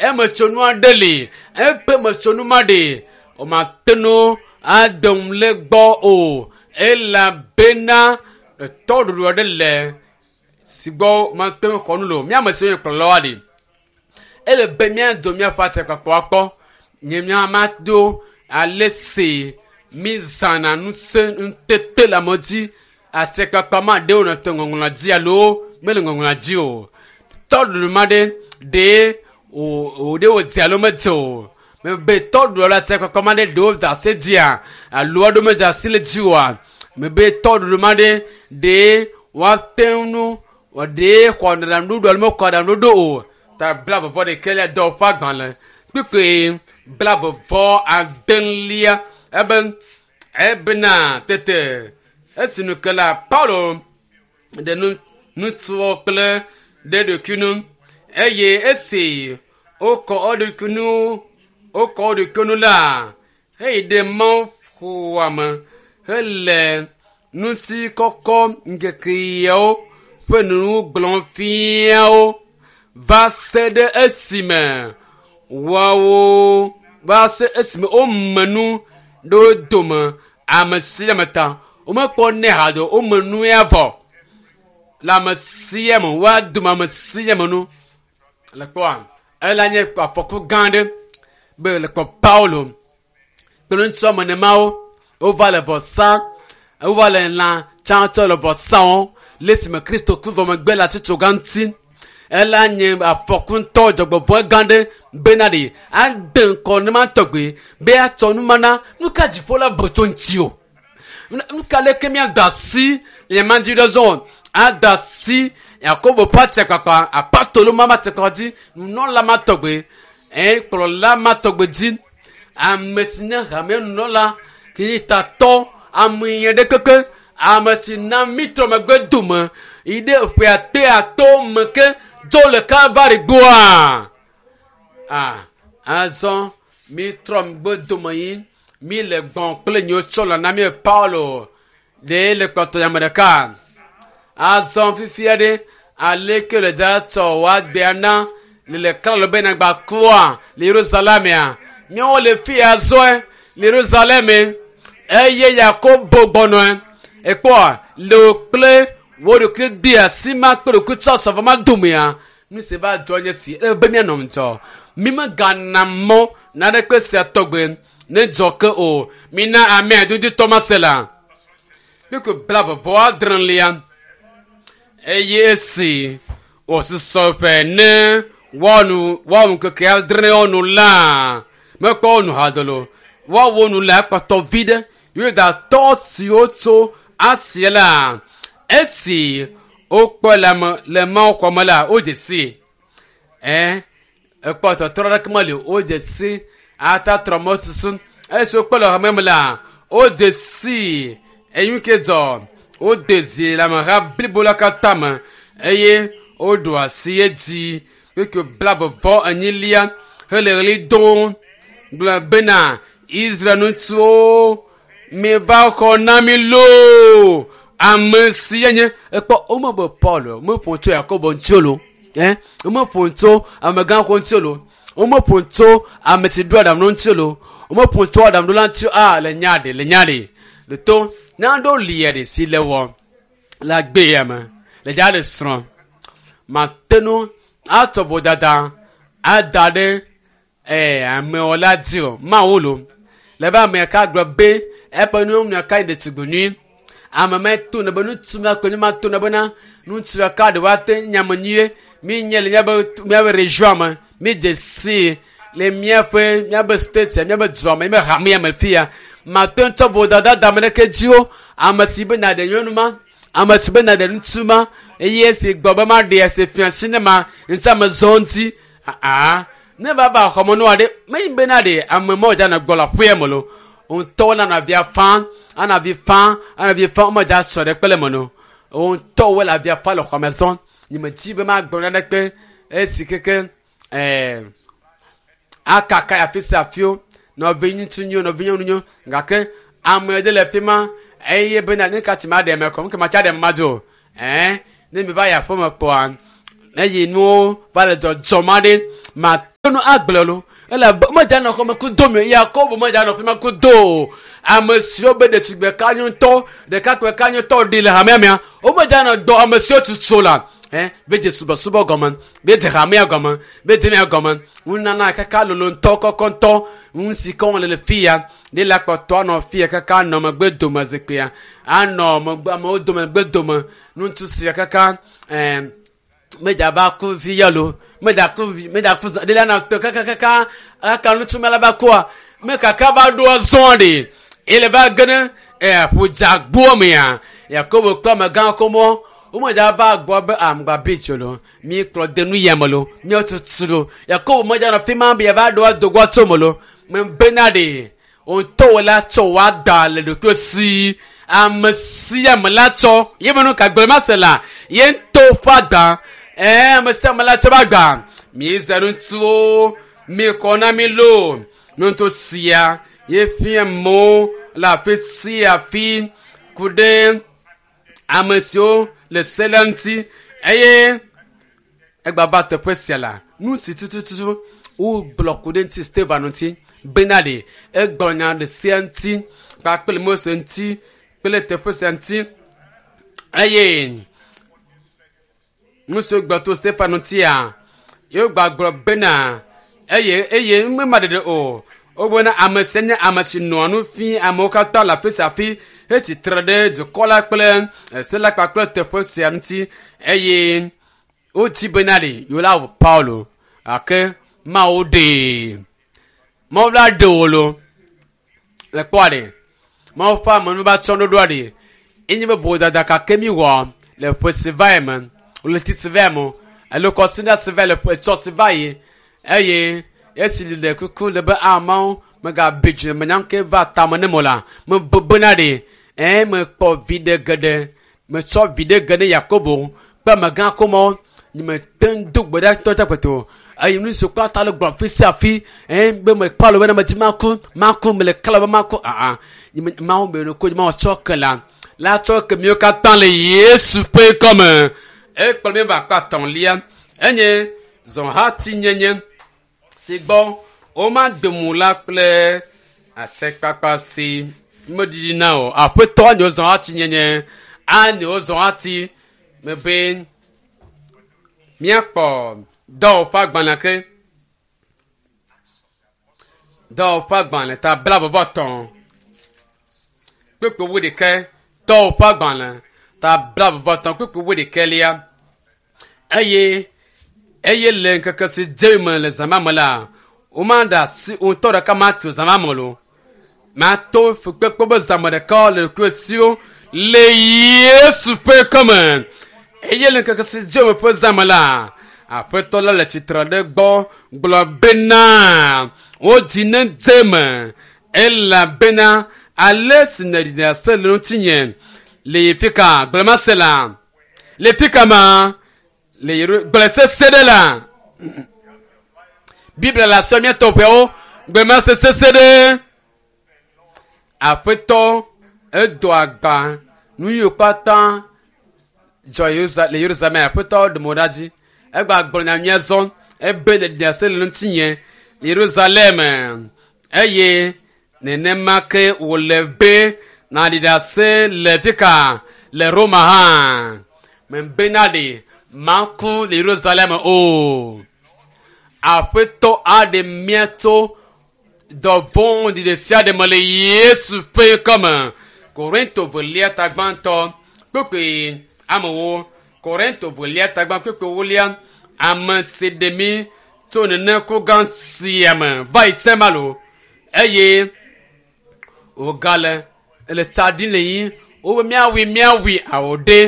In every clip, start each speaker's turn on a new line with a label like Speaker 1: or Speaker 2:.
Speaker 1: Emetsonu aɖe li. Eƒe metsonu ma ɖe womate ŋu ade ŋu le gbɔ o elabena tɔɖuɖu aɖe le si gbɔ womate ŋu xɔ nu le o. Mía ame siwo nye kplɔlawoa ɖi ele be míado míaƒe atikpakpa akpɔ. Nye mía mado ale si mízãna ŋusẽ ŋutete le ame dzi. Atikpakpa ma ɖewo nɔ te ŋɔŋlɔa dzi alo mele ŋɔŋlɔa dzi o. Tɔɖuɖu ma ɖe ɖee wò wò ɖe wòdze alo medze o. Mebe tɔɖuɖu alo atikpakpa ma ɖe ɖewo da asi dzia alo aɖewo meda asi le dzi oa. Mebe tɔɖuɖu ma ɖe ɖee woate ŋu ɖee xɔ aɖaŋuɖoɖo alo mexɔ aɖaŋuɖoɖo o. Ta blaeve vɔ ɖekɛlia dɔwɔƒe agbalẽ kpukpui blaeve vɔ adelia ebe ebena tete esi nu ke la Paulo ɖe nu ŋutsuwo kple ɖe ɖokui nu eye esi wokɔ eɖokui nu wokɔ wo ɖokui nu la heyi ɖe mawuxɔa me hele ŋutikɔkɔ ŋkekeawo ƒe nu gblɔm fia wo va se ɖe esime woawo va se esime wome nu ɖe wo dome ame sia ame ta womekpɔ nɛ haɖe o wome nu ya vɔ le ame sia ame woadome ame sia ame nu le kpɔa ela nye afɔku gã aɖe be le kpɔ Paulo kple ŋutsu ame nemawo wova le vɔ sa wova le lã tsãtsɔ le vɔ sa wɔm le esime Kristo ku vɔ megbe le atitsoga ŋuti ela nye afɔku ŋutɔ dzɔgbevɔ̃e gã ɖe bena ɖe ade ŋkɔ ne ma tɔgbe be atsɔ numana nu ka dziƒo la bu tso ŋuti o nu ka leke míada asi le nya dzi ɖe zɔ ada asi Yakobo ƒe atikpakpa apostolo ma atikpakpa dzi nunɔla ma tɔgbe ɛ kplɔla ma tɔgbe dzi ame si nye hame nunɔla ke nye tatɔ ame yẹn ɖe kpekpe ame si na mí trɔ megbe dome yi ɖe ƒe ate ato me ke do le Kalvari gbɔa ah azɔ mí trɔ megbe dome yi mí le gbɔn kple nyewo tsɔ le na mí Paulo ɖe le kpɔtɔ ame ɖeka azɔ fifia ɖe aleke le da tsɔ woagbea na le le klalo be nagba kua le Yerusalemea míawo le fi ya zɔe le Yerusalem eye Yakobo gbɔnɔe ekpɔa le wo kple wo ɖokui de asi ma kple ɖokui tsɔ sɔvɔ ma domea nu si va dzɔ nye si ele be míanɔ ŋudzɔ mi megana mɔ naneke sia tɔgbe ne dzɔ ke o mina amea dudutɔ ma se la kpekpe blaeve vɔ adrelia eye esi wòsusɔ ƒe ne woanu woawu ŋkeke adre nu la mekpɔ wo nu hadolo woawo nu la ekpɔtɔ vi ɖe Yudatɔ siwo tso Asia la esi wokpɔ le ame le Mawu xɔme la wodze si ɛ ekpɔ tɔtrɔ ɖeke meli o wodze si atatrɔ mɔ susu esi wokpɔ le xɔme me la wodze si eyi ke dzɔ wode zi le ameha blibo la katã me eye woɖo asi edzi kpekpe blaeve vɔ enyilia hele ɣli dom gblɔ bena Israel ŋutsuwo miva xɔ na mi loo ame si nye ekpɔ womebe Paul womeƒo tso Yakobo ŋuti o lo ɛ womeƒo tso amegãxo ŋuti o lo womeƒo tso ame si ɖo aɖaŋu ŋuti o lo womeƒo tso aɖaŋuɖola ŋuti o a le nya ɖe le nya ɖe le to naɖo lia ɖe si le wɔ le agbe ya me le dza le srɔ̃ mate ŋu atsɔ vodada ada ɖe ɛ amewo la dzi o mawu lo le be ame ka gblɔ be eƒe nu ka yi ɖetugbi nyui ame me to ne be ŋutsu ma kple ma to ne bena ŋutsu ka ɖe woate nyame nyuie mi nye le míabe míabe region me mi dze si le míaƒe míabe state míabe dua me míabe hamea me fia mate ŋu tsɔ vodada da ame ɖeke dzi o ame si be na ɖe nyɔnu ma ame si be na ɖe ŋutsu ma eye esi gbɔ be ma ɖe esi fia si ne ma ŋuti ame zɔ ŋuti aa ne va va xɔmenu aɖe menyi be na ɖe ame ma wòdza nɔ gbɔ le aƒea me lo ŋutɔwo nana avia fã ana avi fã ana avi fã womedza sɔ ɖe kpe le me no ŋutɔwo le avia fã le xɔme zɔ nye me dzi be magblɔ naneke esi keke ɛɛ akaka afi sia afiwo nɔvi ŋutsu nyo nɔvi nyɔnu nyo gake ame ɖe le fi ma eye bena ne ka ti ma ɖe me kɔ nke ma tsa ɖe ma dzo ɛɛ ne mi va yi aƒeme kpɔa ne yi nuwo va le dzɔdzɔm aɖe ma nu agblɔ lo elabe medza nɔ xɔme kudo mi Yakobo medza nɔ fi ma kudo o. Ame siwo be ɖetugbe ka nyɔtɔ ɖekakpui ka nyɔtɔ ɖi le hamea mea womedza nɔ dɔ ame siwo tutu la ɛ be dze subɔsubɔ gɔme be dze hamea gɔme be dze mia gɔme nunana kaka lolo ŋutɔ kɔkɔ ŋutɔ nu si ke wɔm le le fi ya ne la kpɔtɔ anɔ fi ya kaka anɔ megbe dome zikpuia anɔ megbe amewo dome megbe dome ŋutsu sia kaka ɛɛ medza va ku vi ya lo medza ku vi medza ku ɖe la na tɔ kakakaka aka ŋutsu me la va kua me kaka va ɖo azɔn ɖe ele va ge ne ɛ ƒodzagboa mea Yakobo kple amegã kɔmɔ womedza va gbɔ be amgba bitso lo mi kplɔ de nu yame lo mi tutu lo Yakobo medza nɔ fi ma be yava ɖo adogoa tso me lo me bena ɖe ŋutɔ la tsɔ wa da le ɖokuiwo si ame sia ame la tsɔ ye me nu ka gblɔ ma se la ye ŋutɔ ƒe agba ɛɛ ame sia ame la tsɔ ƒe agba mi zɛ ŋutsuwo mi kɔ na mi lo ŋutsu sia ye fia mo le afi sia afi ku ɖe ame siwo le se la ŋuti eye egba va teƒe sia la nu si tututu wogblɔ ku ɖe ŋuti Stefan ŋuti bena ɖe egblɔ nya ɖe sia ŋuti kpakple Mose ŋuti kple teƒe sia ŋuti eye nu si wogblɔ to Stefan ŋutia ye wogba gblɔ bena eye eye mema ɖeɖe o wogbɔna ame sia nye ame si nɔa nu fi amewo katã le afi sia afi hetsi tre ɖe dukɔ la kple se la kpakple teƒe sia ŋuti eye wodi bena ɖe yewo la wɔ Paulo gake Mawu ɖee Mawu la ɖe wo lo le kpɔa ɖe Mawu ƒe ame va tsɔ ɖoɖoa ɖe enye be vodada kake mi wɔ le ƒe si va yi me ɣleti si va yi me alo kɔsiɖa si va yi le ƒe tsɔ si va yi eye esi le kuku le be amewo megabi dzi me nyam ke va tame ne mo la mebena ɖe ɛ mekpɔ viɖe geɖe metsɔ viɖe geɖe Yakobo kple amegã komɔ nye mete ŋu do gbe ɖa ŋutɔ tse eye nu si kpata le gblɔ fi sia fi ɛ be mekpɔ alo bena medzi maku maku mele kala be maku aa nye mawu be no ko mawu tsɔ ke la la tsɔ ke miwo katã le Yesu ƒe kɔme ekplɔ mi va akpa etɔ̃lia enye zɔhatinyenye si gbɔ womade mu la kple atikpakpa si meɖiɖi na o aƒetɔ anyo zɔhatinyenye anyo zɔhati mebe míakpɔ dɔwɔƒe agbalẽ ke dɔwɔƒe agbalẽ ta blaeve-vɔ-etɔ̃ kpukpui wuiɖekɛ dɔwɔƒe agbalẽ ta blaeve-vɔ-etɔ̃ kpukpui wuiɖekɛlia eye eye le ŋkeke si dze me le zã ma me la womaɖe asi ŋutɔ ɖeka matu zã ma me lo mato fukpekpe be zãme ɖeka le ɖokuiwo siwo le Yesu ƒe kɔme eye le ŋkeke si dze me ƒe zãme la aƒetɔ la le tsitre ɖe gbɔ gblɔ bena wodzi ne dze me elabena ale si nèɖi ɖase le ŋutinye le fi ka gblɔmase la le fi ka ma le Yeru gblɔ sese ɖe la Biblia le asɔ mía tɔƒewo gblɔmase sese ɖe aƒetɔ edo agba nu yiwo katã dzɔ le Yerusalem aƒetɔ ɖe mo ɖa dzi egba gblɔ nya nyuia zɔ ebe le ɖiase le ŋutinye Yerusalem eye nenema ke wòle be nàɖi ɖase le fi ka le Roma hã mebena ɖe maku le Yerusalem o aƒetɔ aɖe mía tso dɔvɔ̃ ɖi ɖe sia ɖe me le Yesu ƒe kɔme Korinto velia ta gbãtɔ kpukpui amewo Korinto velia ta gbã kpukpui ewolia ame si ɖe mí tso nene ku gã sia me va yi tse ma lo eye wògale le tsa ɖim le yi wobe míawui míawui awo ɖe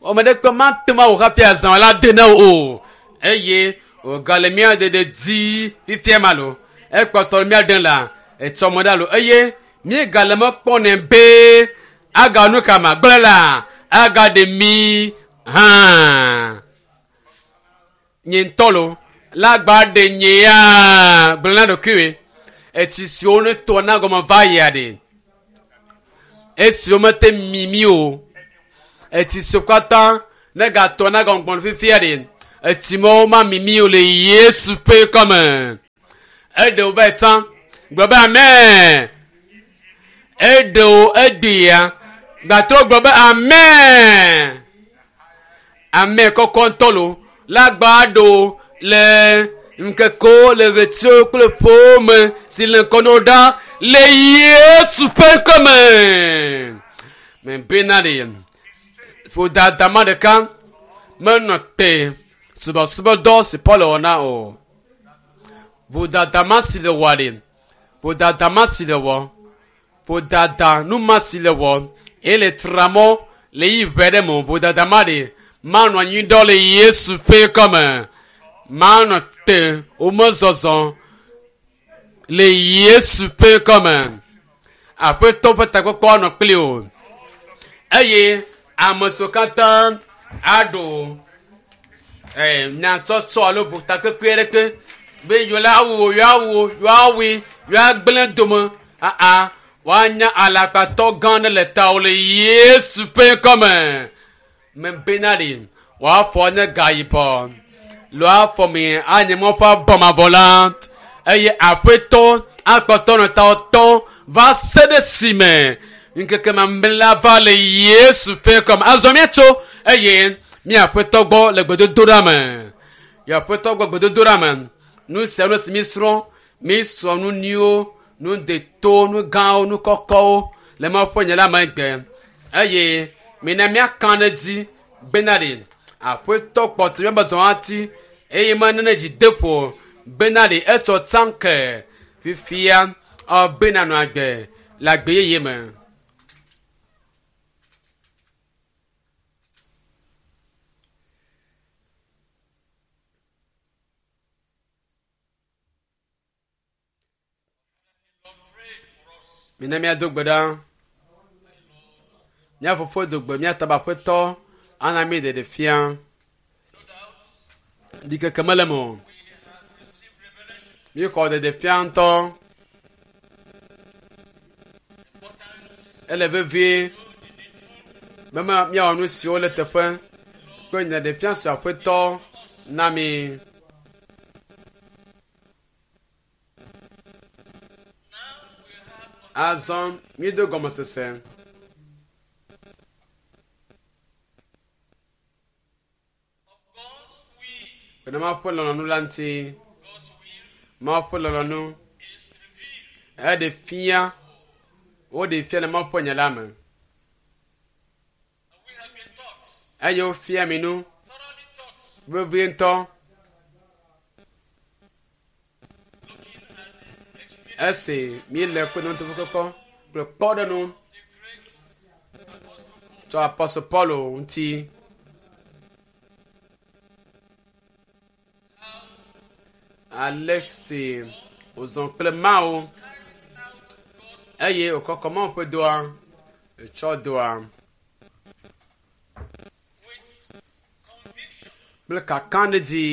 Speaker 1: ame ɖe kpe mate ŋu awɔ hafi azã la de na wo o eye wògale mía ɖeɖe dzi fifia ma lo ekpɔtɔ le mía ɖem la etsɔme ɖa lo eye míegale me kpɔnɛ be aga nu ka ma gblẽ la agaɖe mí hã nye ŋutɔ lo la gba ɖe nye ya gblẽ na ɖokuiwoe etsi siwo ne tɔ na gɔme va yia ɖe esiwo mete mimi o etsi siwo katã ne gatɔ na gɔme gbɔn fifia ɖe etsi mawo ma mimi o le Yesu ƒe kɔme. Eɖe wo va yi tsã. Gblɔ be amen. Eɖe wo egbea. Gatrɔ gblɔ be amen. Amen kɔkɔ ŋutɔ lo. La gba ɖo le ŋkekewo le ɣletiwo kple ƒewo me si le ŋkɔ na wo ɖa le Yesu ƒe ŋkɔ me. Mebena ɖe vodada ma ɖeka menɔ te subɔsubɔdɔ si Paul wɔ na o. Vodada ma si le wɔ ɖe, vodada ma si le wɔ, vodada nu ma si le wɔ eye le tra mɔ le yi ʋɛ ɖe me vodada ma ɖe manɔ anyi ɖɔ le Yesu ƒe ŋkɔ me. Manɔ te womezɔzɔ le Yesu ƒe ŋkɔ me. Aƒetɔ ƒe takpɔkpɔ anɔ kpli o eye ame siwo katã aɖo nyatsɔtsɔ alo votakpekpe aɖeke be yewo la awu wo, yewoawu wo, yewoawui, yewoagblẽ dome aa woanya alakpatɔ gã aɖe le tawò le Yesu ƒe ŋkɔ me. Mebena ɖi woafɔ nye gayibɔ lo afɔ mi anye mɔ ƒe abɔmavɔ la eye aƒetɔ akpɔtɔ nɔ tawò tɔ va se ɖe si me ŋkeke mamlɛ la va le Yesu ƒe ŋkɔ me. Azɔ míatso eye míaƒetɔ gbɔ le gbedodoɖa me. Aƒetɔ gbɔ gbedodoɖa me. Nu sia nu si mísrɔ̃, mísrɔ̃ nu nyuiwo, nu deto, nu gãwo, nu kɔkɔwo le Mawu ƒe nya la me egbe. Eye mina míaka ɖe edzi bena ɖe aƒetɔ kpɔtɔ míabe zɔhati eye menene dzi de ƒo bena ɖe etsɔ tsã ke fifia bena nɔ agbe le agbe yeye me. Mina míado gbe ɖa. Mía fofo do gbe mía taba aƒetɔ ana mí ɖeɖe fia. Ɖikeke mele eme o. Míexɔ ɖeɖe fia ŋutɔ. Ele vevie be míawɔ nu siwo le teƒe kple nyaɖefia si aƒetɔ na mí. Azɔ míedo gɔmesese. Bena Mawu ƒe lɔlɔ̃nu la ŋuti. Mawu ƒe lɔlɔ̃nu eɖe fia, woɖe fia le Mawu ƒe nya la me. Eye wofia mi nu vevie ŋutɔ. Esi míele kpeɖeŋutɔkpɔkpɔ kple kpɔɖeŋu tso Apostle Paulo ŋuti. Ale si wòzɔ kple Mawu eye wòkɔkɔ Mawu ƒe dɔa, etsɔ dɔa kple kakaɖedzi.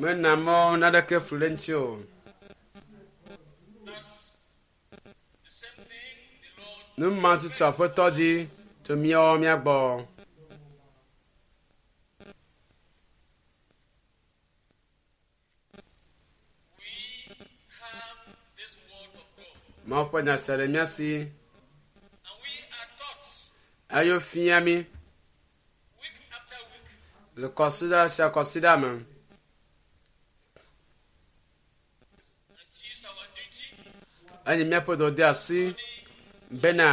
Speaker 1: Mena mɔ naneke flu ɖe ŋuti o. Nu ma tutu aƒetɔ di tso míawo mía gbɔ. Mawu ƒe nya sia le mía si. Eye wofia mí le kɔsiɖa sia kɔsiɖa me. Enye míaƒe dɔdeasi bena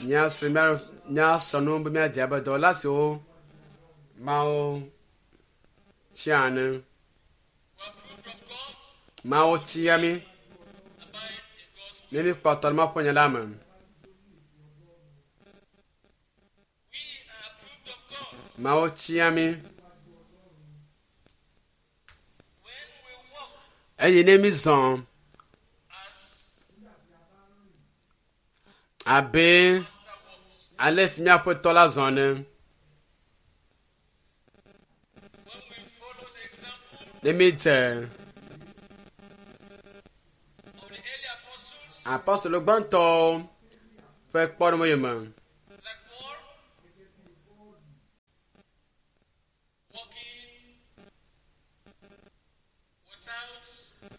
Speaker 1: míasrɔ̃ nu be míadze abe dɔwɔla siwo Mawu tia ene. Mawu tia mí ne míkpɔtɔ ɖe Mawu ƒe nya la me. Mawu tia mí eye ne mízɔ abe ale si míaƒe tɔ la zɔ ene. Ne mídze apostolo gbãtɔwo ƒe kpɔɖeŋu yome.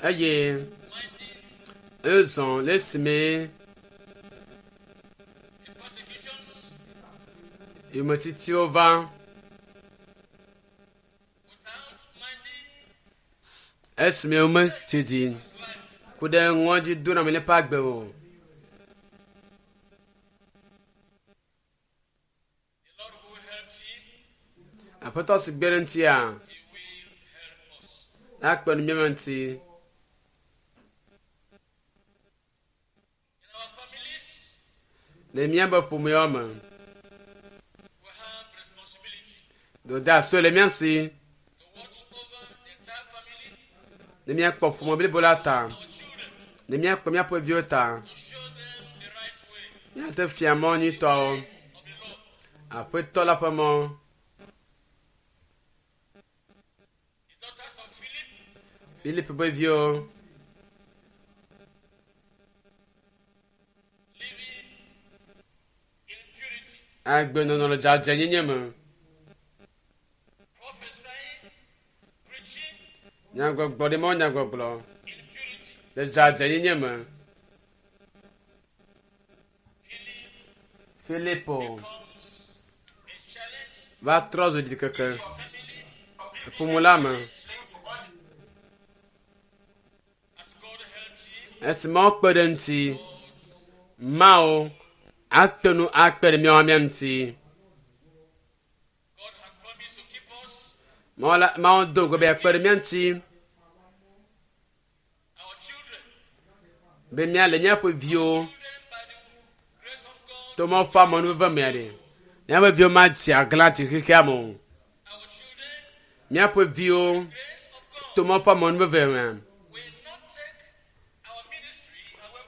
Speaker 1: Eye ezɔ le esime yometitiwo va esime wometsi dzi ku ɖe ŋɔdzidoname le eƒe agbe o. Aƒetɔ si gbe ɖe ŋutia, akpe nu mía ŋuti. Le míaƒe ƒomewo me, dɔdeasiwo le mía si ne míakpɔ ƒome blibo la ta, ne míakpɔ míaƒe viwo ta, míate fia mɔ nyuitɔwo, Aƒetɔ la ƒe mɔ. Filip ƒe viwo. Agbenɔnɔ le dzadzɛnyenye me. Nyagbɔgblɔ ɖe mɔ nyagbɔgblɔ le dzadzɛnyenye me. Filipo va trɔ zu ɖikeke ƒome la me. Esi Mawu kpe ɖe ŋuti, Mawu ate ŋu akpe ɖe míawo mía ŋuti. Mawu do ŋugbe be yeakpe ɖe mía ŋuti be míale míaƒe viwo to Mawu ƒe amenuveve mea ɖe. Míaƒe viwo madze aglã tsi xexea me o. Míaƒe viwo to Mawu ƒe amenuveve mea,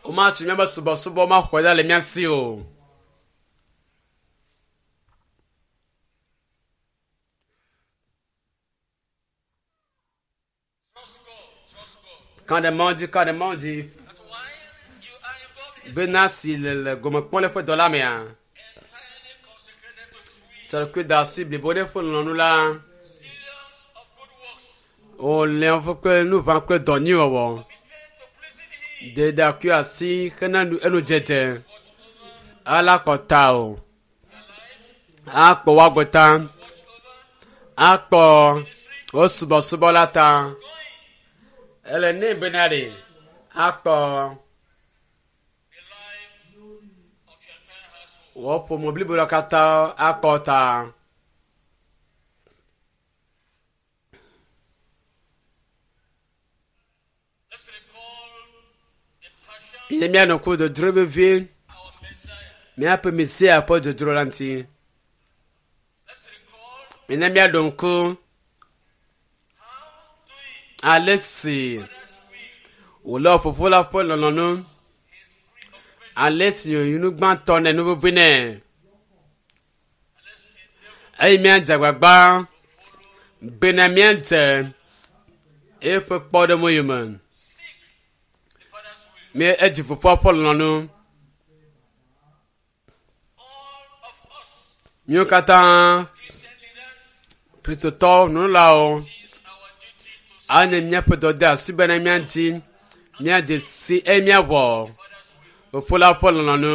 Speaker 1: womatso míaƒe subɔsubɔ maxɔe ɖa le mía si o. Ka ɖe Mawu dzi, ka ɖe Mawu dzi. Bena si le le gome kpɔm le eƒe dɔ la mea, tsɔ ɖokui da asi blibo ɖe eƒe lɔlɔ̃nu la. Wòlé woƒe kple nuʋã kple dɔ nyui wɔwɔ. De ɖakui asi hena enu dzedze. Ala kɔ ta o. Akpɔ woagbe ta. Akpɔ wo subɔsubɔ la ta. Ele nɛ bena ɖe akpɔ wò ƒome blibo la katã akpɔ ta. Ye míanɔ ku dodro vevie míaƒe Mesia ƒe dodro la ŋuti. Mina míaɖo ŋku ale si wòlé Fofo la ƒe lɔlɔ̃nu, ale si wònye nu gbãtɔ nɛ, nu vevi nɛ. Eye míadze agbagba bena míadze eƒe kpɔɖeŋu yome. Mí edzi fofoa ƒe lɔlɔ̃nu. Míwo katã Kristotɔwo nunɔlawo anye míaƒe dɔdeasi bena míadi míadze si eye míawɔ Fofo la ƒe lɔlɔ̃nu.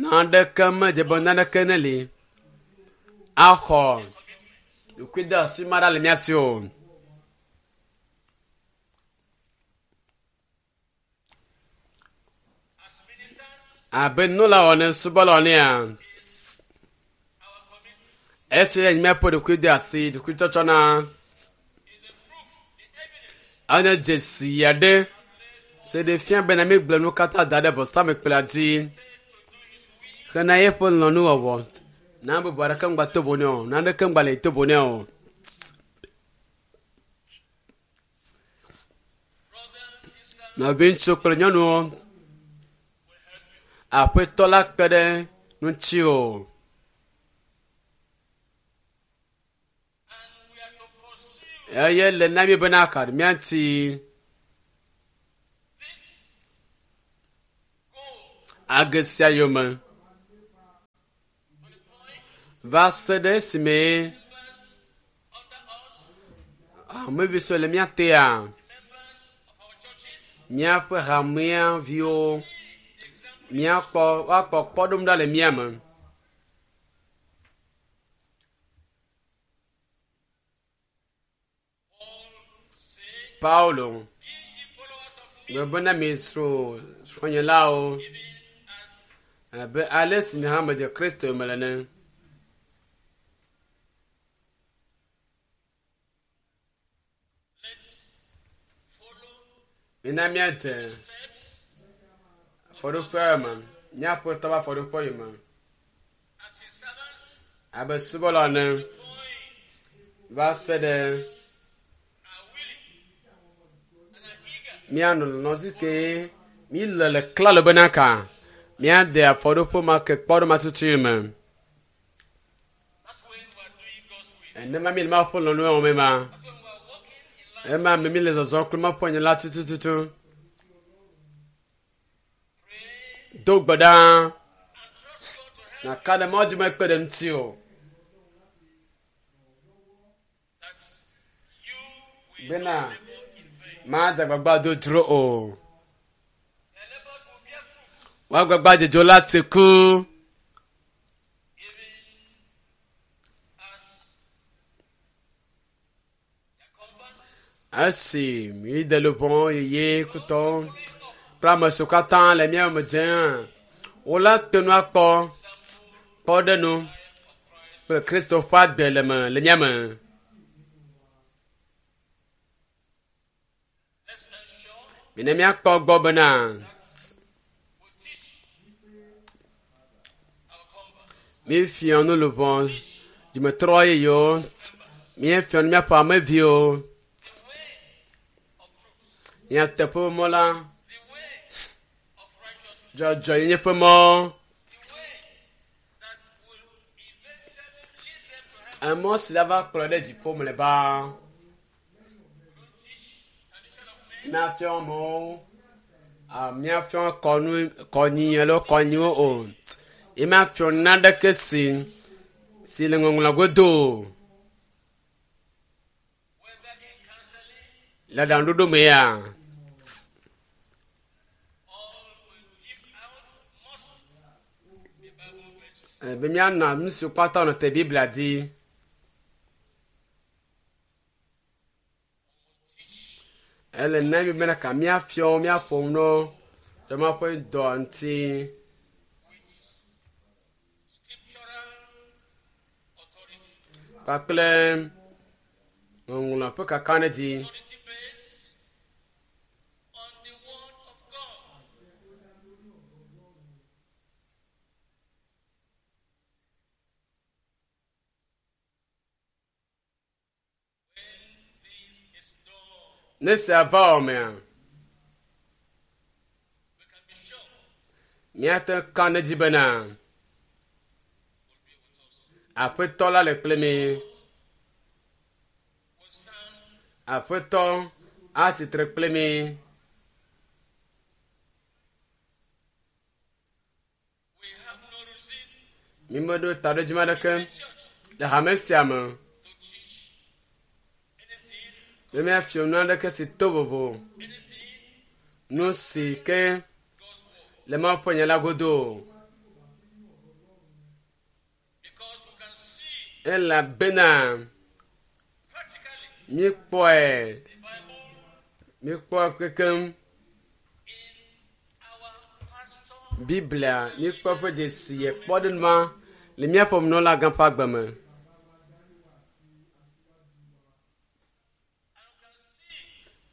Speaker 1: Naneke medze be naneke neli axɔ ɖokuideasi ma ɖa le mía si o. Abe nunɔlawo ene, subɔlawo enea, esi nye míaƒe ɖokuideasi, ɖokuitsɔtsɔ na enye dzesi aɖe si ɖe fia bena míegblẽ nu katã da ɖe vɔsamlekpui dzi hena eƒe lɔlɔ̃nuwɔwɔ. Na bubu aɖeke ŋgba to vo nɛ o, naneke ŋgba le to vo nɛ o. Nɔviŋutsu kple nyɔnuwo, Aƒetɔ la kpe ɖe ŋutiwò. Eye le na mí bena ka míati age sia yome va se ɖe esime Hamevi siwo le mía tea, míaƒe hamea viwo, míakpɔ woakpɔ kpɔɖeŋu ɖa le mía me. Paulo gblɔ bena misrɔ̃ srɔ̃nyelawo abe ale si nye hã medze Kristo me ene. Mina míadze afɔɖoƒe me, míaƒe tɔ ƒe afɔɖoƒe yi me abe subɔla ene va se ɖe míanɔ lɔlɔ̃ ke míle le klalo bena ka míade afɔɖoƒe ma ke kpɔɖo ma tutu me. Enema míle Mawu ƒe lɔlɔ̃nu wɔm ema. Ema me míle zɔzɔm kple Mawu ƒe nya la tutututu. Do gbe ɖa nàka ɖe Mawu dzi be ekpe ɖe ŋuti o. Bena made agbagba dodro o. Woagbagba dzodzo la tsi ku. Esi míde luʋɔ yeye kutɔwo kple ame siwo katã le mía me dzem, wola te nu akpɔ kpɔɖeŋu kple Kristo ƒe agbe le me le mía me. Mina míakpɔ gbɔ bena míefiɔ nu luʋɔ dzimetrɔ yeyewo, míefiɔ nu míaƒe ameviwo. Nyateƒe mɔ la, dzɔdzɔenyenye ƒe mɔ, emɔ si la va kplɔ ɖe dziƒo mlɔeba. Míafiɔ amewo, míafiɔ kɔnu kɔnyi alo kɔnyiwo o. Ye míafiɔ naneke si si le ŋɔŋlɔ godo o. Le aɖaŋuɖoɖo me ya, be míana nu siwo katã nɔ te Biblia dzi. Ele na mi bena ka míafiɔ míaƒo nu tso Mawu ƒe dɔa ŋuti. Kpakple ŋɔŋlɔ ƒe kakaɖedzi. Ne sia va wɔmea, míate ŋu ka ɖe edzi bena Aƒetɔ la le kple mí. Aƒetɔ atsi tre kple mí. Mímeɖo taɖodzinu aɖeke le hame sia me be míafia nu aɖeke si to vovo nu si ke le Mawu ƒe nya la godo o. Elabena míekpɔe, míekpɔe kekeŋ. Biblia míekpɔ eƒe dzesi kpɔɖeŋu ma le míaƒe nunɔlagã ƒe agbe me.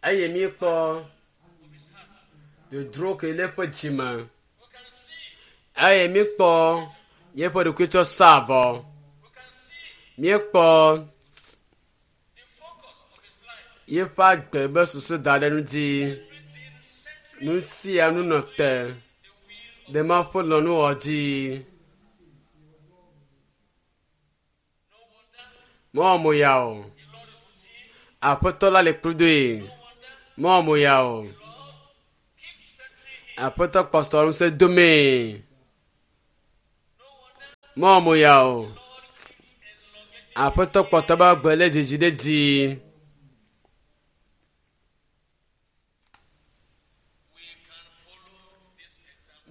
Speaker 1: Eye míekpɔ dodro ke le eƒe dzi me. Eye míekpɔ yeƒe ɖokuitsɔ sa avɔ. Míekpɔ yeƒe agbe be susu da ɖe nu dzi. Nu sia nu nɔ te ɖe Mawu ƒe lɔlɔ̃nuwɔwɔ dzi. Mewɔ mo ya o. Aƒetɔ la le kpludoe. Mewɔ mo ya o. Aƒetɔ kpɔtɔ ŋusẽ domee. Mewɔ mo ya o. Aƒetɔ kpɔtɔ be agbe le dzidzi ɖe dzi.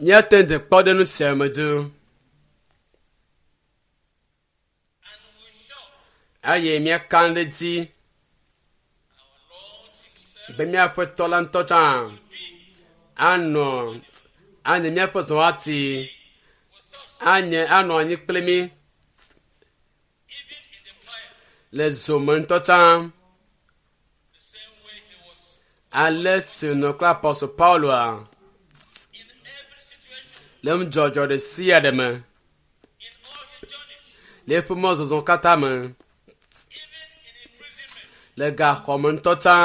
Speaker 1: Míate ŋu kpɔ ɖe nu sia me dzi. Eye míaka ɖe edzi be míaƒe tɔ la ŋutɔ tsã anɔ anye míaƒe zɔwati anye anɔ anyi kple mí le zome ŋutɔ tsã ale si nɔ kple apɔstol Pauloa le nudzɔdzɔ ɖe sia ɖe me le eƒe mɔzɔzɔ katã me le gaxɔme ŋutɔ tsã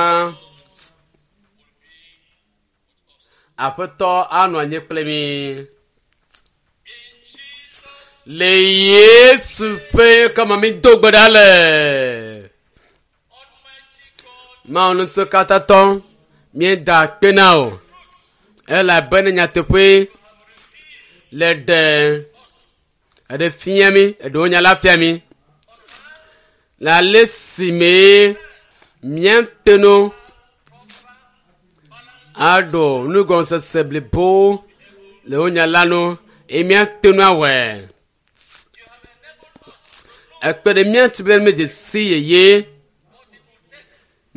Speaker 1: aƒetɔ anɔ anyi kple mi le Yesu ƒe kama mi do gbe ɖa le Mawu ŋusẽkatãtɔ míeda akpe na wò elabena nyateƒe le ɖe eɖe fia mí eɖewo nya la fia mí le ale si mee míate ŋu aɖo nugɔmesese blibo le wo nya la nu eye míate ŋu awɔe. Ekpe ɖe mía ŋuti be míedze si yeye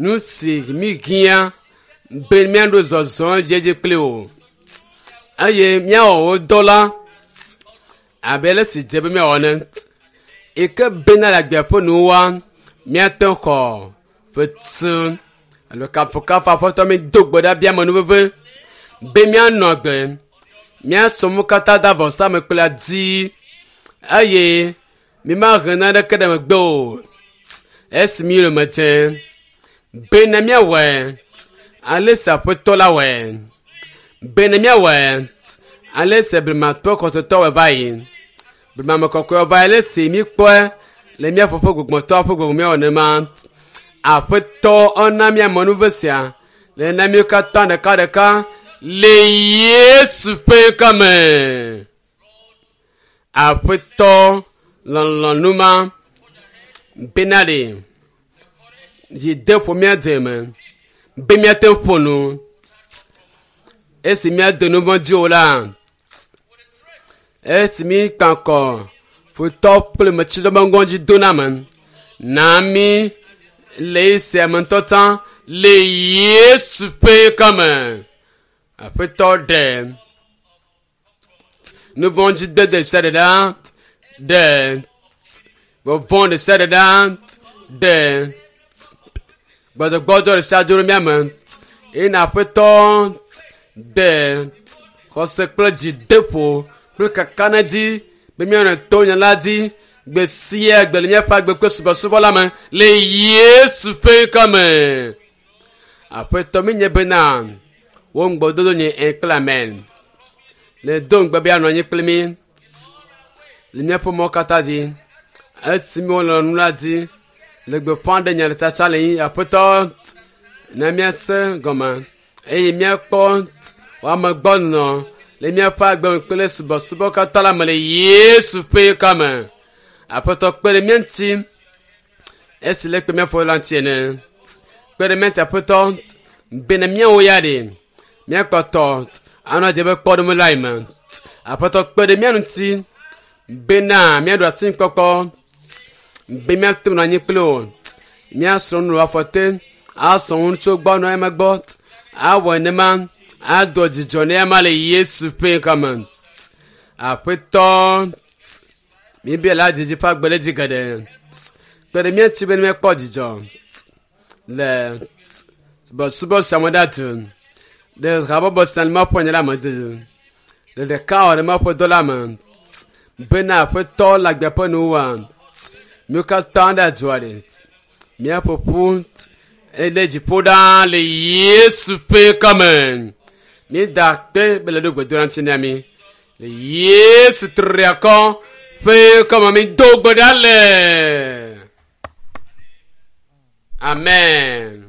Speaker 1: nu si míhiã be míaɖo zɔzɔ edziedzi kpli wò eye míawɔ wò dɔ la abe ale si dze be míawɔ ene yi ke bena le agbea ƒe nuwua míate ŋu xɔ fetu alo kafukafu aƒetɔ mi do gbe ɖa bia amenuveve be míanɔ agbe míasɔ nu katã da vɔsame kple adi eye mímahe naneke ɖe megbe o esi mi yome dze bene míawɔe ale si aƒetɔ la wɔe bene míawɔe ale si blematɔ xɔsetɔ wɔe va yi blemame kɔkɔe va yi ale si míkpɔe le mía fofo gbɔgbɔtɔ ƒe gbɔgbɔ míawɔ nenema aƒetɔ ena mía amenuve sia le na míwo katã ɖekaɖeka le Yesu ƒe ŋkɔ me. Aƒetɔ lɔlɔ̃nu ma bena ɖe dzi de ƒo mía deme be míate ŋu ƒo nu esi míado nu vɔ̃ dzi o la esi mí kpankɔ futɔ kple metsidɔ be ŋgɔdzi do na me na mí le esia me ŋutɔ tsã le Yesu ƒe ŋkɔ me. Aƒetɔ ɖe nu vɔ̃ dzi dede sia ɖe ɖa ɖe vɔvɔ̃ ɖe sia ɖe ɖa ɖe gbɔdzɔgbɔdzɔ ɖe sia dzo ɖe mía me eye na aƒetɔ ɖe xɔse kple dzideƒo kple kakanedzi be míanɔ to nya la dzi gbe sia gbe le míaƒe agbe kple subɔsubɔ la me le Yesu ƒe ŋkɔ me. Aƒetɔ míenye bena wò ŋugbedodo nye ẽ kple amen. Le do ŋugbe be anɔ anyi kple mí le míaƒe mɔ katã dzi. Esi míwɔ nu la dzi le gbeƒã ɖe nya le tsatsa le yi aƒetɔ na míase gɔme eye míakpɔ ame gbɔ nɔ le míaƒe agbe me kple subɔsubɔ katã la me le Yesu ƒe ŋkɔ me. Aƒetɔ kpe ɖe mía ŋuti esi le kpe míaƒe la ŋuti ene. Kpe ɖe mía ŋuti aƒetɔ bene míawo ya ɖe míakpɔtɔ anɔ dze be kpɔɖeŋu la me. Aƒetɔ kpe ɖe mía ŋuti bena míaɖo asi kpɔkpɔ be míate ŋu anyi kple wò míasrɔ̃ nu le afɔte asɔ nu tso gbɔ nɔ eme gbɔ awɔ nenema ado dzidzɔ ne ema le Yesu ƒe ŋkɔ me. Aƒetɔ míbia la dzidzi ƒe agbe ɖe dzi geɖe kpe ɖe mía ŋuti be míakpɔ dzidzɔ le subɔsubɔ sia me ɖatu ɖe habɔbɔ sia le Mawu ƒe nya la me dzi le ɖeka wɔ ɖe Mawu ƒe dɔ la me bena aƒetɔ le agbe ƒe nuwua míwo katã ɖe adzɔa ɖe míaƒo ƒu ele dziƒo ɖaa le Yesu ƒe ŋkɔ me míeda akpe be le ɖo gbedoɖa ŋuti na mí le Yesu triakɔ ƒe ŋkɔ me mído gbe ɖa le. Amen.